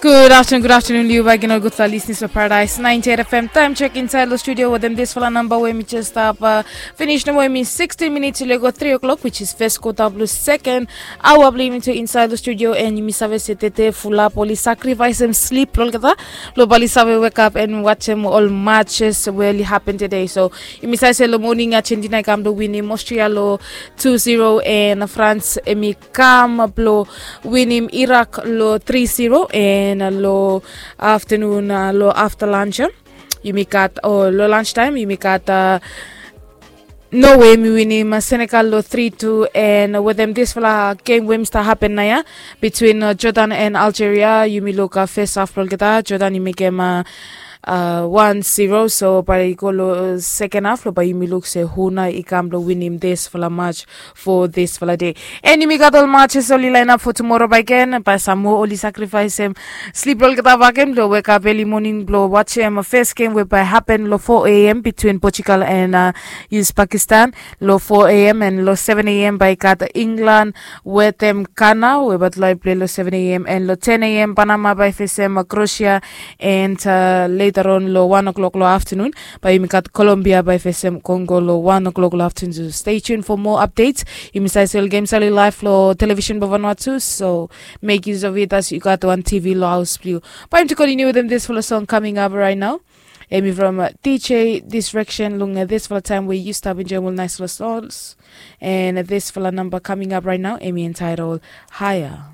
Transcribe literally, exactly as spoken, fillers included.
Good afternoon, good afternoon, liu baik gen ol gudfala listening to Paradise ninety-eight F M. Time check inside the studio with them this fala number wey mi just stop uh, finish no wey mi sixteen minutes le go three o'clock, which is first quarter blue second hour blue mi to inside the studio, and mi save se tete fulap oli sacrifice em sleep lol kata lo bali save wake up and watch em all matches wey li happen today. So mi save se lo morning Argentina kam do win em Austria lo two zero, and France emi kam blo winim Iraq lo three zero, and lo afternoon uh, lo after lunch uh, yumi gat o lo lunch time yumi gat uh, Norway mi winim uh, Senegal lo three two, and with them this fala game wey mi start happen na ya between uh, Jordan and Algeria. Yumi look uh, first half blo olgeta Jordan yumi game uh, uh, one zero. So bae i go lo second half lo bae yumi luk se hu nao i kam blo winim disfala match for disfala day. And yumi gat ol matches oli line up for tomorrow bae gen bae sam moa oli sacrifice em slip lo olgeta bakem blo wake up early morning blo watch em first game we bae happen lo four a.m. between Portugal and uh, Uzbekistan lo four a.m. and lo seven a.m. Bae i gat England wetem Ghana we bae tulae play lo seven a.m. and lo ten a.m. Panama bae fesem uh, Croatia and uh, later on lo one o'clock lo afternoon bae yumi gat Colombia bae fesem Congo lo one o'clock lo afternoon. So stay tuned for more updates. Yumi save se ol games oli live lo television blo Vanuatu, so make use of it as you got one T V lo house blue. Bae yumi to continue with them this fala song coming up right now. Emi from uh, D J Distraction long uh, this fala time where you stop enjoying all nice little songs. And this fala number coming up right now, Emi entitled Higher.